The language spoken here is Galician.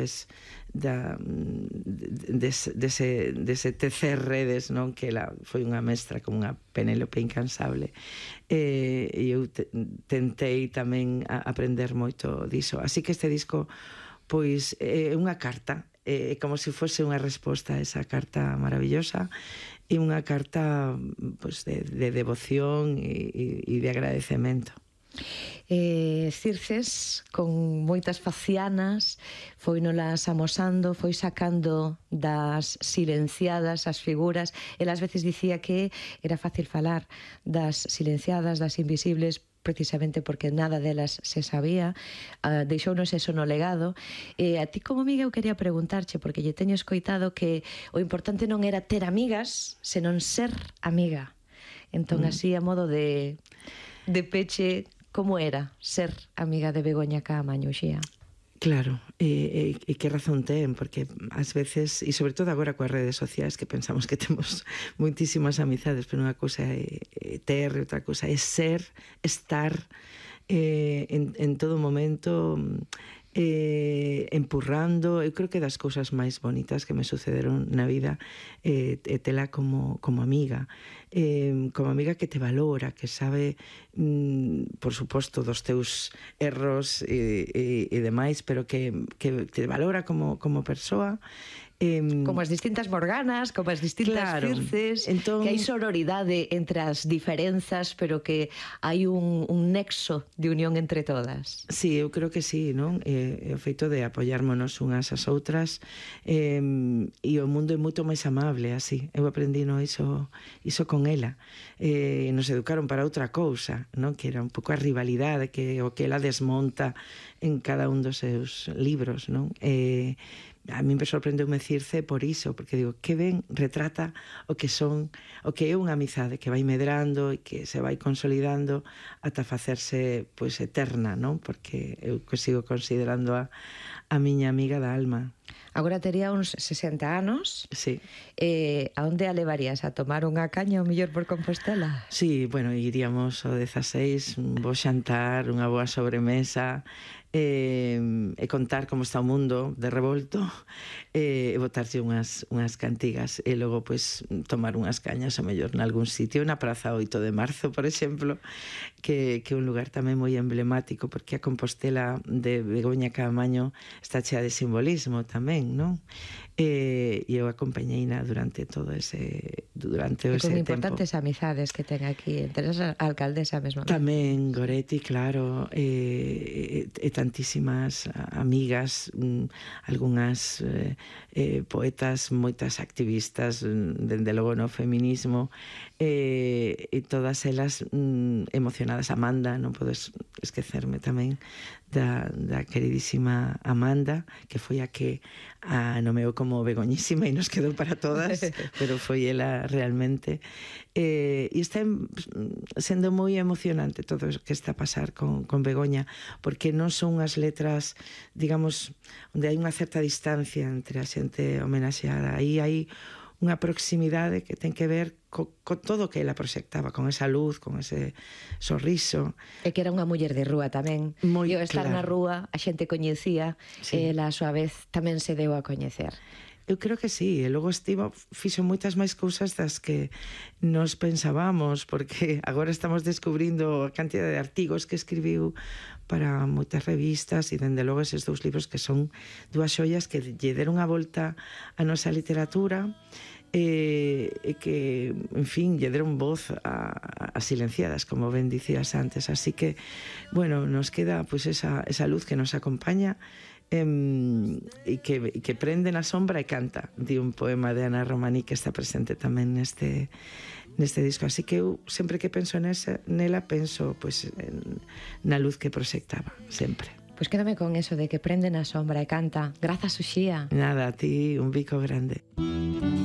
través dese tecer redes, non? Que ela foi unha mestra como unha Penélope incansable, e eu tentei tamén aprender moito diso. Así que este disco pois é unha carta, é como se fose unha resposta a esa carta maravillosa, e unha carta pois, de devoción e de agradecemento. Circes, con moitas facianas, foi nolas amosando, foi sacando das silenciadas as figuras. Ela ás veces dicía que era fácil falar das silenciadas, das invisibles, precisamente porque nada delas se sabía. Deixounos eso no legado. A ti como amiga eu quería preguntarche, porque lle teño escoitado que o importante non era ter amigas, senón ser amiga. Entón, así, a modo de peche, como era ser amiga de Begoña Caamaño, Uxía? Claro, e que razón ten, porque ás veces, e sobre todo agora coas redes sociais, que pensamos que temos moitísimas amizades, pero unha cousa é ter, outra cousa é ser, estar en todo momento, empurrando. Eu creo que das cousas máis bonitas que me sucederon na vida é tela como amiga, que te valora, que sabe, por suposto, dos teus erros e demais, pero que te valora como persoa, como as distintas Morganas, como as distintas Circes, que hai sororidade entre as diferenzas, pero que hai un nexo de unión entre todas. Sí, eu creo que sí, non? O feito de apoyármonos unhas ás outras, e o mundo é moito máis amable así. Eu aprendino iso con ela. Nos educaron para outra cousa, non? Que era un pouco a rivalidade, que o que ela desmonta en cada un dos seus libros, non? A mí me sorprendeume Circe por iso, porque digo, que ben retrata o que é unha amizade que vai medrando e que se vai consolidando ata facerse pois eterna, non? Porque eu sigo considerando a miña amiga da alma. Agora tería uns 60 anos. Sí. A onde a levarías? A tomar unha caña o mellor por Compostela? Sí, bueno, iríamos ao 16, un bo xantar, unha boa sobremesa, e contar como está o mundo de revolto, e botarlle unhas cantigas, e logo pois tomar unhas cañas o mellor nalgún sitio, na Praza 8 de Marzo, por exemplo, que é un lugar tamén moi emblemático, porque a Compostela de Begoña Caamaño está chea de simbolismo tamén, non? E eu acompañeina durante todo ese tempo. Con importantes amizades que ten aquí, entre as alcaldesa mesmo. Tamén Goretti, claro, e tantísimas amigas, algunhas poetas, moitas activistas, dende logo no feminismo, e todas elas emocionadas. Amanda, non podes esquecerme tamén da queridísima Amanda, que foi a que a nomeou como Begoñísima e nos quedou para todas, pero foi ela realmente. E está sendo moi emocionante todo o que está a pasar con Begoña, porque non son unhas letras, digamos, onde hai unha certa distancia entre a xente homenaxeada. Aí hai unha proximidade que ten que ver con todo o que ela proxectaba, con esa luz, con ese sorriso. E que era unha muller de rúa tamén. E ao estar na rúa a xente coñecía, e ela a súa vez tamén se deu a coñecer. Eu creo que sí, e logo fixo moitas máis cousas das que nos pensábamos, porque agora estamos descubrindo a cantidad de artigos que escribiu para moitas revistas, e dende logo eses 2 libros que son 2 xoias que lle deron a volta a nosa literatura, e que, en fin, lle deron voz a silenciadas, como ben dicías antes. Así que, bueno, nos queda pois esa luz que nos acompaña, e que prende na sombra e canta, di un poema de Ana Romaní que está presente tamén neste disco. Así que eu sempre que penso nela penso pois na luz que proxectaba, sempre. Pois quédame con eso de que prende na sombra e canta. Grazas, Uxía. Nada, a ti un bico grande.